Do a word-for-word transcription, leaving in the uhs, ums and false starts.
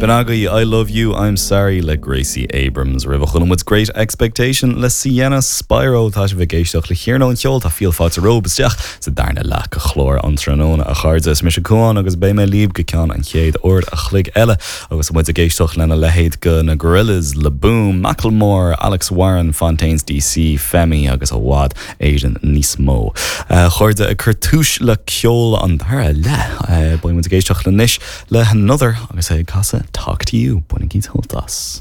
B'in agaibh I Love You, I'm Sorry le Gracie Abrams roimhe chuala muid Great Expectation le Sienna Spiro tá sibh ag éisteacht le hiarnóin cheoil tá fial fáilte romhaibh isteach sa darna leath de chlár an tráthnóna a chairde is mise Cuán agus beidh mé libh go ceann an chéad uair a chloig eile agus muid ag éisteacht lena leithéid de na Gorillaz Le Boom, Macklemore, Alex Warren, Fontaines DC, Femi agus i bhfad Éireann níos mó. A chairde ag cur tús le ceol an dara leath beidh muid ag éisteacht anois le Another agus é ag casadh Talk to You bainigí sult as.